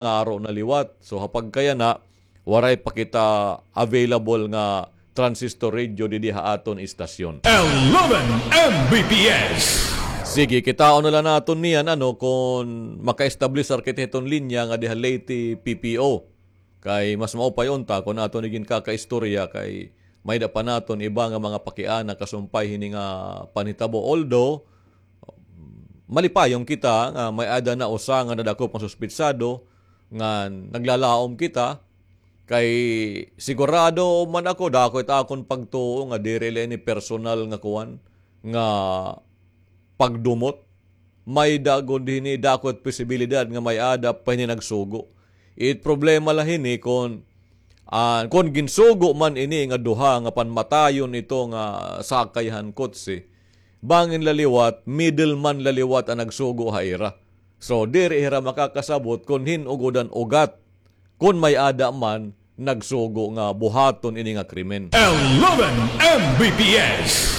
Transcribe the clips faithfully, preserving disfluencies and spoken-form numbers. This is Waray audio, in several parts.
nga aro na liwat. So, ha pagkayana, waray pa kita available nga transistor radio didi ha aton istasyon. Eleven M B P S. Sige, kitaon na la naton niyan, ano, kon maka-establish kita hiton linya nga diha Leyte P P O. Kay mas maupay unta kon aton iginkakaistorya kay may-ada pa naton iba nga mga pakiana kasumpay hini nga panhitabo. Although, malipayon kita nga may-ada na usa nga nadakop nga suspitsado nga naglalaom kita, kay sigurado man ako, dako it akon pagtuo nga diri la ini personal nga kuan, nga pagdumot. May-ada gud hini, dako it posibilidad nga may-ada pa hini nagsugo. It problema la hini kon, ah, kon ginsugo man ini nga duha nga panmatayon ito nga sakay han kotse, bangin la liwat, middleman la liwat an nagsugo ha ira. So, diri hira makakasabot kon hin-o gud an ugat kon may-ada man nagsugo nga buhaton ini nga krimen. Eleven M B P S.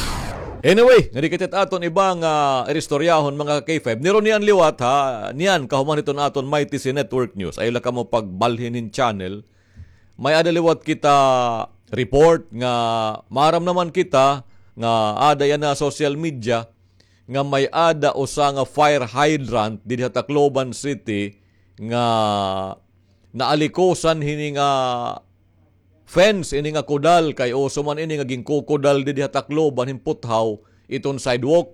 Anyway, nga di kita it aton iba nga iristoryahon, mga K five. Niro niyan liwat, ha, niyan kahuman hiton aton Mighty C Network News. Ayaw la kamo pagbalhin hin channel. May-ada liwat kita report nga maaram naman kita nga aada yana ha social media nga may-ada usa nga fire hydrant didi ha Tacloban City nga naalikusan hini nga fence, ini nga kudal, kay uso man ini nga ginkukudal didi ha Tacloban hin puthaw iton sidewalk.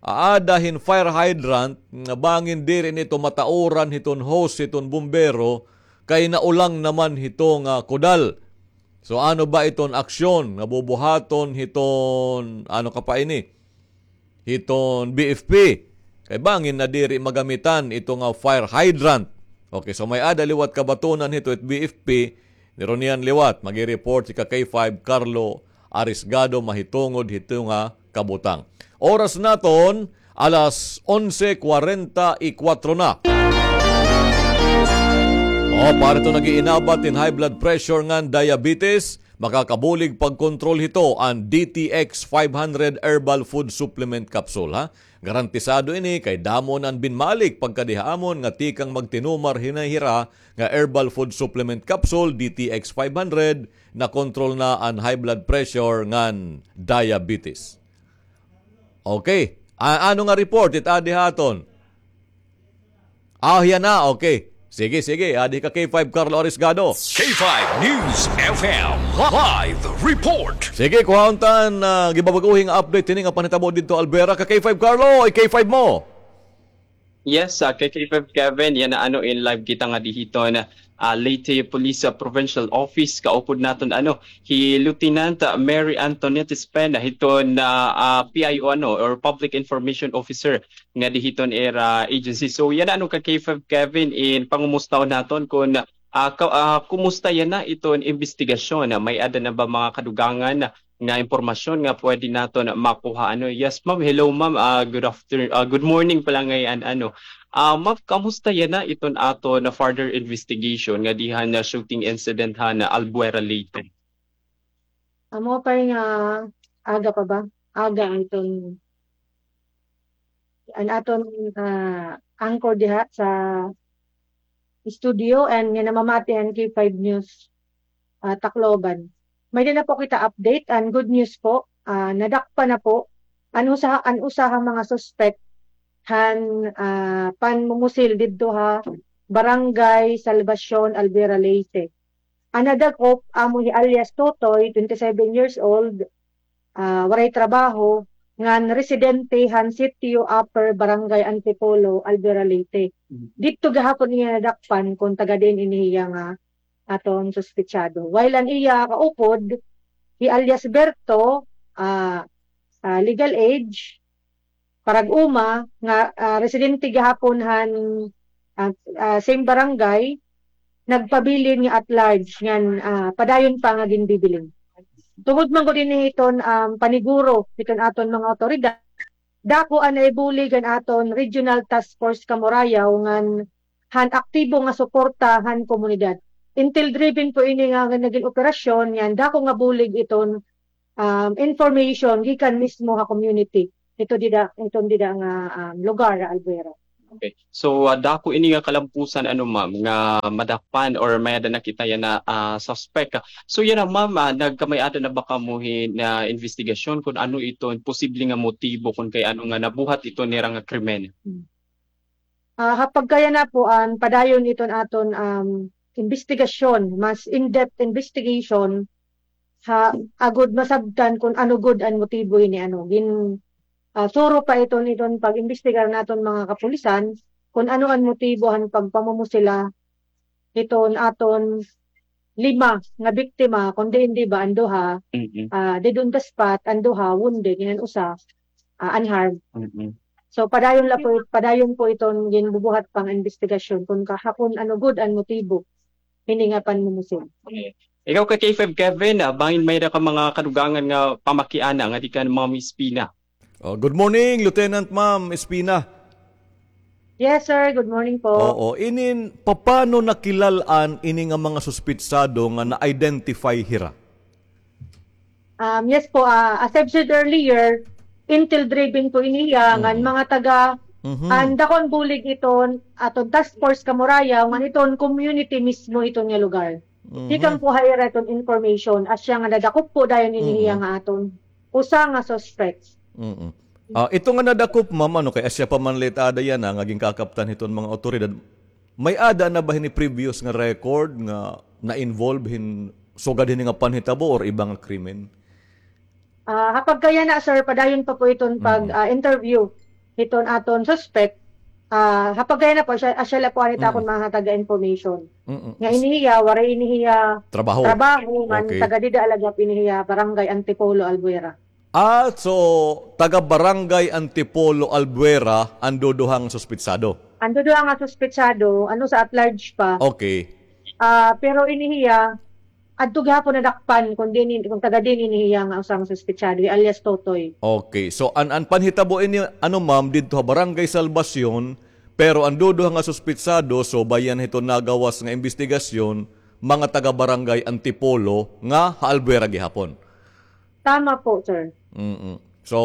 Aada hin fire hydrant nga bangin diri ini ito matauran hiton hose hiton bumbero kay naulang naman hito nga kudal. So, ano ba iton aksyon nga bubuhaton hiton, ano ka pa ini? Hiton B F P. Kay bangin na diri magamitan ito nga fire hydrant. Okay, so may-ada liwat kabatunan hito it B F P. Niro niyan liwat, magi-report si ka K five Carlo Arisgado mahitungod hito nga kabutang. Oras naton, alas onse kwarenta y kuwatro na. O, para hito nag-iinabat hin high blood pressure ngan diabetes, makakabulig pagkontrol hito an D T X five hundred Herbal Food Supplement Capsule, ha? Garantisado ini kay damo na an binmalik pagkadi ha amon nga tikang magtinumar hini hira nga Herbal Food Supplement Capsule, D T X five hundred, nakontrol na an high blood pressure ngan diabetes. Okay. A-, ano nga report it adi ha aton? Ah, hiya na. Okay. Sige, sige. Adi ka K five Carlo Arisgado. K five News F M live report. Sige, kuhaon ta an, ah, gibabag-ohi nga update hini nga panhitabo didto Albuera. Ka K five Carlo, i-K five mo. Yes, ah, ka K five Kevin, yana ano, in live kita ngadi hiton, ah, Leyte Police, ah, Provincial Office, kaupod naton, ano, hi Lieutenant, ah, Mary Antoinette Espena, hiton, ah, ah, P I O, ano, or Public Information Officer ngadi hiton ira agency. So, yana ano, ka K five Kevin, in pangumustahon naton kon, ah, ka-, ah, kumusta yana iton imbestigasyon, ah, may-ada na ba mga kadugangan nga impormasyon nga pwede naton makuha, ano. Yes, ma'am. Hello, ma'am. Ah, good after-, ah, good morning pala ngay-an, ano. Ah, ma'am, kamusta yana iton aton further investigation ngadi han shooting incident han Albuera, Leyte? Amo pa nga aga pa ba? Aga iton an aton, ah, anchor diha sa studio and nga namamati han K five News, ah, Tacloban. May-ada na po kita update and good news po, ah, nadakpan na po an usa, an usa ha mga suspect han, ah, panmumusil didto ha Barangay Salvacion, Albuera, Leyte. An nadakop amo hi alias Totoy, twenty-seven years old, ah, waray trabaho, ngan residente han Sitio Upper, Barangay Antipolo, Albuera, Leyte. Mm. Didto gihapon iya nadakpan kon taga diin ini hiya nga aton suspetsado. While an iya kaupod, hi alias Berto, ah, ah, legal age, parag-uma nga, ah, residente gihapon han, ah, ah, same barangay, nagpabilin nga at large ngan, ah, padayon pa nga ginbibilin. Tungod man gud ini hiton, um, paniguro hiton aton mga awtoridad, dako an naibulig an aton Regional Task Force Kamurayaw ngan han aktibo nga suporta han komunidad. Intel driven po ini nga, nga nagin operasyon, ngan dako nga bulig iton um, information gikan mismo ha community. Ito dida, iton dida nga, um, lugar ha Albuera. Okay. So, ah, dako ini nga kalampusan, ano, ma'am, nga madakpan or may-ada nakita yana, ah, suspect. So, yana, ma'am, ah, nagkamay-ada na ba kamo hin, ah, investigasyon kon ano iton posible nga motibo kon kay ano nga nabuhat iton nira nga krimen? Hmm. Ah, ha pagkayana po, an padayon iton aton, um, investigasyon, mas in-depth investigation, ha, agod masabtan kon ano gud an motibo hini, ano, gin-, ah, suro pa iton, iton pag-imbestigar naton mga kapulisan, kon ano an motibo han pagpamumusil hiton aton lima nga biktima, kon diin, di ba, an duha, Mm-mm. ah, dead on the spot, an duha, wounded, ngan an usa, ah, unharmed. Mm-mm. So, padayon la po, padayon po iton ginbubuhat pang investigasyon kon ka-, ha, kon ano gud an motibo hini nga panmumusil. Okay. Ikaw kay K five Kevin, ah, bangin may-ada ka mga kadugangan nga pamakiana nga tikang Ma'am Espina. Oh, good morning, Lieutenant Ma'am Espina. Yes, sir. Good morning po. Oo, inin, papano nakilal-an ini nga mga suspitsado nga na-identify hira? Um, yes po, ah, as I've said earlier, intel driven po ini hiya, ngan Mm. mga taga, Mhm. an dako an bulig iton, aton task force Kamurayaw, ngan iton community mismo iton nga lugar. Mhm. Tikang po ha ira iton information, asya nga nadakop po dayon ini hiya Mm-mm. nga aton usa nga suspect. Mm-mm. Ah, ito nga nadakop, ma'am, ano, kay asya pa man la it-ada yana nga ginkakaptan hiton mga awtoridad. May-ada na ba hini previous nga record nga na-involve hin sugad hini nga panhitabo or iba nga krimen? Ah, ha pagkayana, sir, padayon pa po iton pag, Mm. ah, interview hiton aton suspect. Ah, ha pagkayana po, asya, asya la po an it Mm. akon mga taga information. Mm-mm. Nga ini hiya, waray ini hiya Trabaho. trabaho, ngan Okay. taga dida la gihap ini hiya, Barangay Antipolo, Albuera. Ah, so, taga Barangay Antipolo, Albuera, an duduha nga suspitsado? An duduha nga suspitsado, an usa at large pa. Okay. Ah, pero ini hiya, adto gihapon nadakpan kon diin, kon taga diin ini hiya nga usa nga suspitsado, alias Totoy. Okay. So, an, an panhitabo ini, ano, ma'am, didto ha Barangay Salvacion, pero an duduha nga suspitsado, so, bayan hiton nagawas nga imbestigasyon, mga taga Barangay Antipolo nga ha Albuera gihapon. Tama po, sir. Mm-mm. So,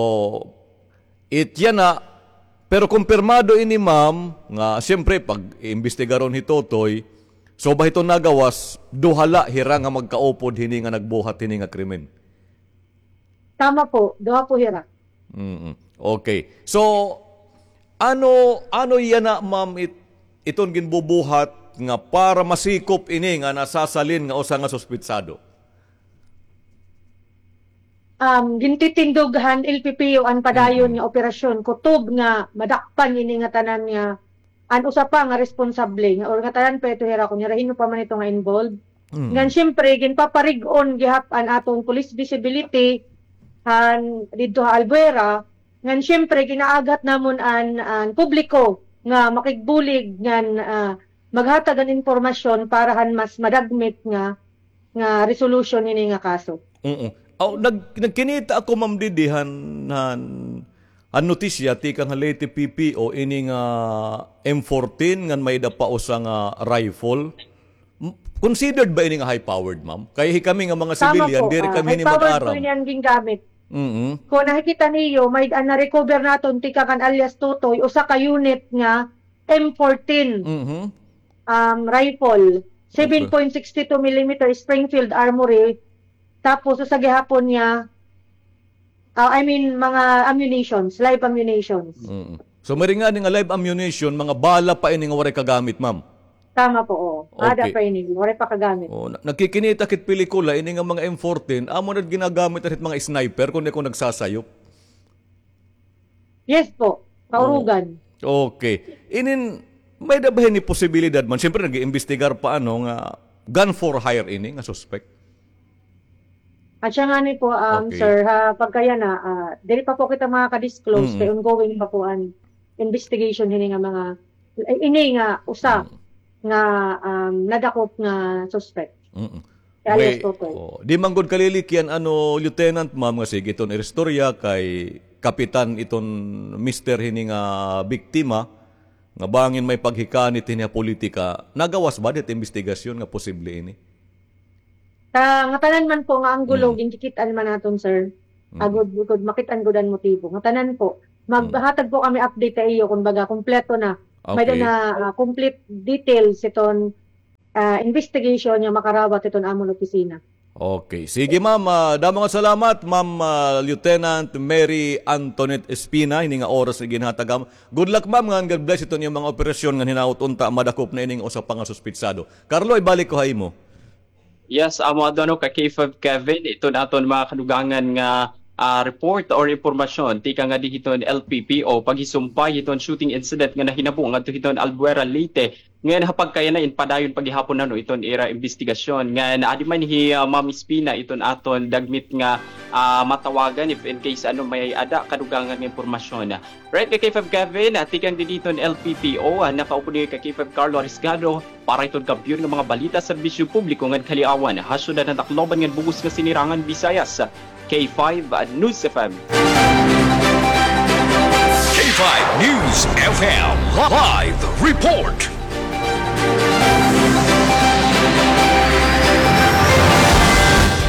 it yana, pero kumpirmado ini, ma'am, nga siyempre, pag-iimbestigaron hi Totoy, so ba hiton nagawas, duha la hira nga magkaupod hini nga nagbuhat hini nga krimen? Tama po, duha po hira. Mm-mm. Okay. So, ano, ano yana, ma'am, it-, iton ginbubuhat nga para masikop ini nga nasasalin nga usa nga suspitsado? Um, gintitindog han L P P O an padayon Mm-mm. nga operasyon, kutob nga madakpan ini nga tanan nga an usa pa nga responsable nga, or nga tanan pa ito hira kon hira hin-o pa man ito nga involved. Mm. Ngan siyempre, ginpaparig-on gihap an aton police visibility han didto ha Albuera. Ngan siyempre, gin-aaghat namon an, an publiko nga makigbulig ngan, ah, maghatag an impormasyon para han mas madagmit nga, nga resolution hini nga kaso. Oo. Aw, nag-, nagkinita ako, ma'am, didi han, han, han notisya tikang ha Leyte P P O ini nga M fourteen ngan may-ada pa usa nga rifle. M-, considered ba ini nga high-powered, ma'am? Kay hikami nga mga Tama civilian, po, diri ah, kami hini high-powered mag-aram. po ini an gingamit. Mm-hmm. Kon nakikita niyo, may-ada an na-recover naton tikang kan alias Totoy, usa ka unit nga M fourteen, Mm-hmm. um, rifle, Okay. seven point six two millimeter Springfield Armory, tapos usa gihapon nga, ah, I mean, mga ammunitions, live ammunitions. Mm. So, may-ada ngani nga live ammunition, mga bala pa ini nga waray kagamit, ma'am? Tama po, oo. Ada Okay. pa ini, waray pa kagamit. Oh, na-, nagkikinita kit pelikula, ini nga mga M fourteen, amo na ginagamit na hit mga sniper, kon di ako nagsasayop. Yes po, kaurugan. Oo. Okay. Inin, may-ada ba hini posibilidad man? Siyempre, nag-iimbestigar pa, ano, nga gun for hire ini, nga suspect? Asya ngani po, um, Okay. sir, ha pagkayana, ah, diri pa po kita makaka-disclose, Mm. kay ongoing pa po an investigation hini nga mga, eh, ini nga usa Mm. nga, um, nadakop nga suspect. Mm. Kay alias Totoy. Oh, di man gud kalilikian, ano, Lieutenant, ma'am, nga sige iton iristorya kay kapitan iton mister hini nga biktima, nga bangin may paghikanit hini ha politika, nagawas ba dit imbestigasyon nga posible ini? Sa ngatanan man po nga anggulo, Mm. ginkikit-an man naton, sir. Mm. Agod, agod makit-an gud an motibo. Ngatanan po. Mm. Maghatag po kami update sa iyo, kumbaga, kumpleto na. May-ada na, ah, complete details hiton, ah, investigation nga makarawat hiton amon opisina. Okay. Sige, ma'am. Ah, damo nga salamat, Ma'am, ah, Lieutenant Mary Antoinette Espina, ini nga oras nga ginhatag am-, Good luck, ma'am, ngan God bless iton iyo mga operasyon ngan hinaot unta madakop na ining usa pa nga suspitsado. Carlo, ibalik ko ha imo. Yes, amo adto, ano, ka K five Kevin, iton aton mga kadugangan nga, ah, report or impormasyon tikang ngadi hiton L P P O paghisumpay hiton shooting incident nga nahinabo ngadto hiton Albuera, Leyte. Ngan ha pagkayana in padayon pa gihapon, ano, iton ira imbestigasyon. Ngan adi man hi, ah, Ma'am Espina iton aton dagmit nga, ah, matawagan if in case, ano, may-ada kadugangan nga impormasyon. Right, ka K five Kevin, ah, tikang didi hiton L P P O, ah, nakaupod niyo ka K five Carlo Arisgado para hiton kampiyon nga mga balita, serbisyo publiko ngan kaliawan ha syudad han Tacloban ngan bug-os nga Sinirangan Visayas. K five News F M. K five News F M Live Report.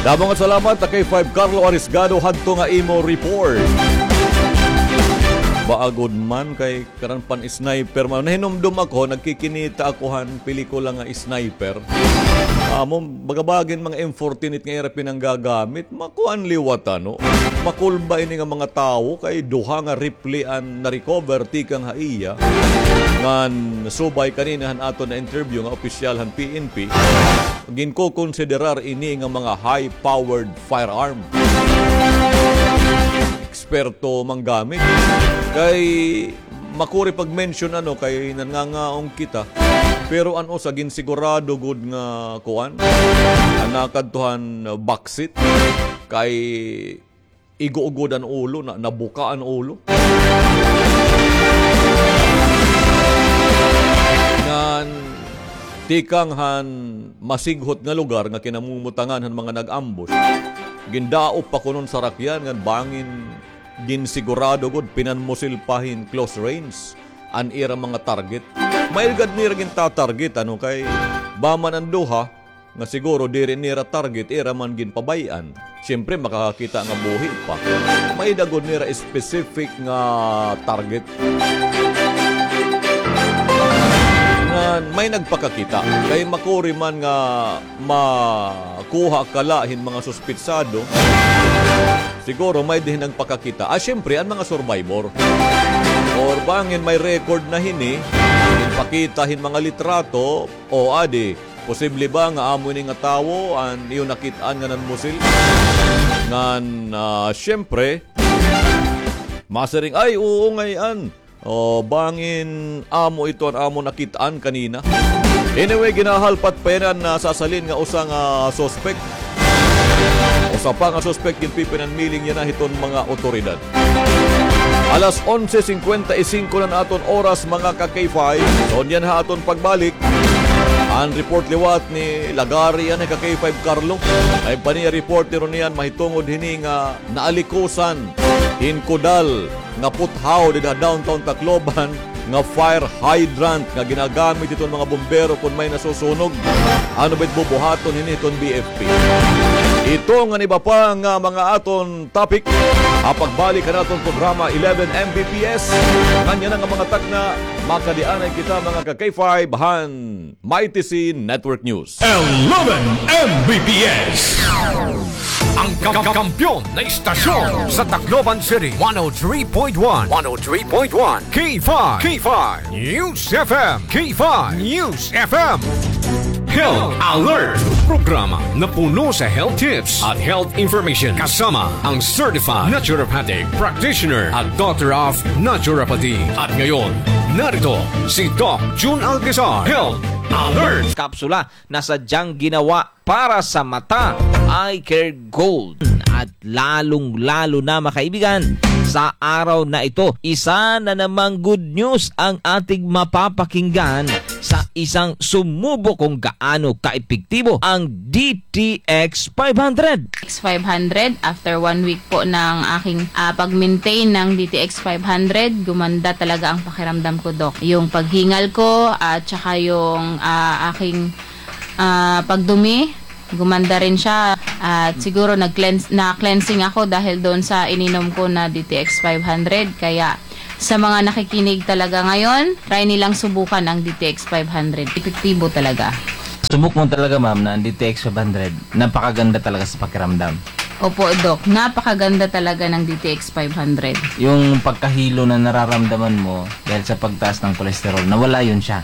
Damo nga salamat ha K five Carlo Arisgado hadto nga imo report. Baagod man kay karan pan-sniper man. Nahinumdom ako, nagkikinita ako han pelikula nga Sniper. Amo, bagabagin mga M fourteen nga ira pinanggagamit, makuan liwat, ano. Makulba ini nga mga tawo kay duha nga rifle an na-recover tikang ha iya. Ngan subay kanina han aton na-interview nga opisyal han P N P, ginkokonsiderar ini nga mga high-powered firearm. Eksperto manggamit. Kay makuri pag-mention, ano, kay nangangaon kita. Pero an usa ginsigurado gud nga kuan, an nakadto han backseat kay igo-ugod an ulo, na, nabuka an ulo. Ngan tikang han masighot nga lugar nga kinamumutangan han mga nag-ambush, gindaop pa kuno an sarakyan ngan bangin ginsigurado gud pinanmusil pa hin close range an ira mga target. May-ada gad nira ginta-target, ano, kay bangin an duha nga siguro diri nira target, ira man ginpabay-an. Siyempre, makakakita nga buhi pa. May-ada gud nira specific nga target. Ngan may nagpakakita. Kay makuri man nga makuha kala hin mga suspitsado, siguro may-ada hin nagpakakita. Ah, siyempre, an mga survivor. Or bangin may record na hini, ginpakita hin mga litrato, o adi, posible ba nga amo ini nga tawo an iyo nakit-an nga nanmusil? Ngan, ah, siyempre, masiring, "Ay, oo ngay-an." O, bangin amo ito an amo nakit-an kanina. Anyway, ginahalpat pa yana an sasalin nga usa nga suspek. Usa pa nga suspek ginpipinanmiling yana hiton mga otoridad. Alas onse singkwenta y singko na an aton oras, mga ka-K five. So, niyan ha aton pagbalik, an report liwat ni Lagari, an ka-K five Carlo. Ay pa niya report niro niyan mahitungod hini nga naalikusan hin kudal nga puthaw dida downtown Tacloban nga fire hydrant nga ginagamit hiton mga bumbero kon may nasusunog. Ano ba it bubuhaton hini hiton B F P? Ito ngan iba pa nga mga aton topic ha pagbalik han aton programa eleven M B P S. Ngan yana nga mga takna, makadianay kita, mga ka-K five, han Mighty C Network News. Eleven M B P S. Ang ka-, ka-, kampiyon na istasyon sa Tacloban City, one oh three point one, one oh three point one, K five, K five News F M, K five News F M. Health Alert, programa na puno sa health tips at health information, kasama ang certified naturopathic practitioner at Doctor of Naturopathy. At ngayon, narito si Doc Jun Alcazar, Health Alert. Kapsula na sadyang ginawa para sa mata, Eye Care Gold. At lalong-lalo na, mga kaibigan, sa araw na ito, isa na namang good news ang ating mapapakinggan sa isang sumubo kung gaano kaepektibo ang D T X five hundred. X five hundred, after one week po ng aking, ah, pag-maintain ng D T X five hundred, gumanda talaga ang pakiramdam ko, Doc. Yung paghingal ko at saka yung, ah, aking, ah, pagdumi, gumanda rin siya. At siguro nag-cleanse, na-cleansing ako dahil doon sa ininom ko na D T X five hundred. Kaya Sa mga nakikinig talaga ngayon, try nilang subukan ang D T X five hundred. Epektibo talaga. Subok mo talaga, ma'am, na ang D T X five hundred, napakaganda talaga sa pakiramdam. Opo, Doc. Napakaganda talaga ng D T X five hundred. Yung pagkahilo na nararamdaman mo dahil sa pagtaas ng cholesterol, nawala yun siya.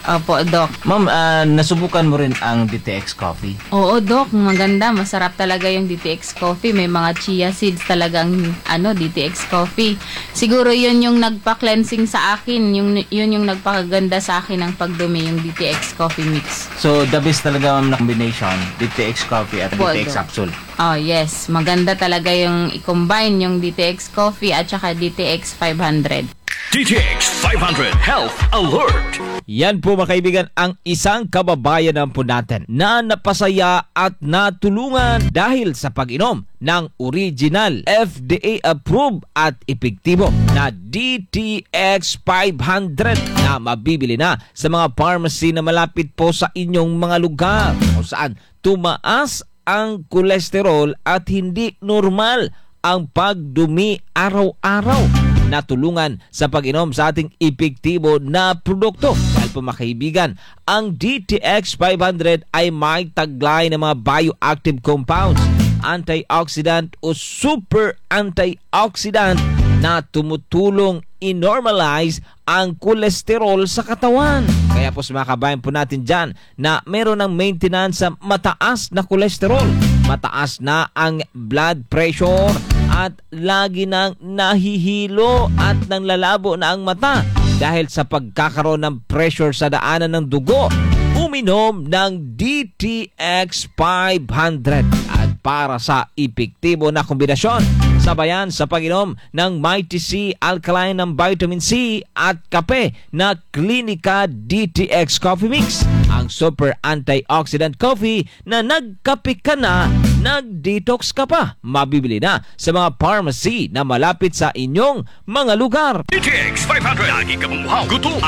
Opo, Doc. Ma'am, ah, nasubukan mo rin ang D T X Coffee? Oo, Doc. Maganda. Masarap talaga yung D T X Coffee. May mga chia seeds talagang, ano, D T X Coffee. Siguro yun yung nagpa-cleansing sa akin. Yung, yun yung nagpakaganda sa akin ng pagdumi, yung D T X Coffee Mix. So, the best talaga, ma'am, na combination, D T X Coffee at Opo, D T X Doc. Capsule. Oh, yes. Maganda talaga yung i-combine yung D T X Coffee at saka D T X five hundred. D T X five hundred Health Alert. Yan po, mga kaibigan, ang isang kababayan naman po natin na napasaya at natulungan dahil sa pag-inom ng original, F D A approved at epektibo na D T X five hundred na mabibili na sa mga pharmacy na malapit po sa inyong mga lugar, kung saan tumaas ang kolesterol at hindi normal ang pagdumi araw-araw. Natulungan sa pag-inom sa ating epektibo na produkto. Dahil po, mga kaibigan, ang D T X five hundred ay may taglay ng mga bioactive compounds, antioxidant o super antioxidant na tumutulong i-normalize ang kolesterol sa katawan. Kaya po, sa mga kabayan po natin dyan na meron ng maintenance sa mataas na kolesterol, mataas na ang blood pressure, at lagi nang nahihilo at nanlalabo na ang mata dahil sa pagkakaroon ng pressure sa daanan ng dugo, uminom ng D T X five hundred. At para sa epektibo na kombinasyon, sabayan sa pag-inom ng Mighty C Alkaline ng vitamin C at kape na Clinica D T X Coffee Mix, ang super antioxidant coffee na nagkape ka na, nag-detox ka pa. Mabibili na sa mga pharmacy na malapit sa inyong mga lugar. D T X five hundred. Lagi ka mamuhaw, gutom,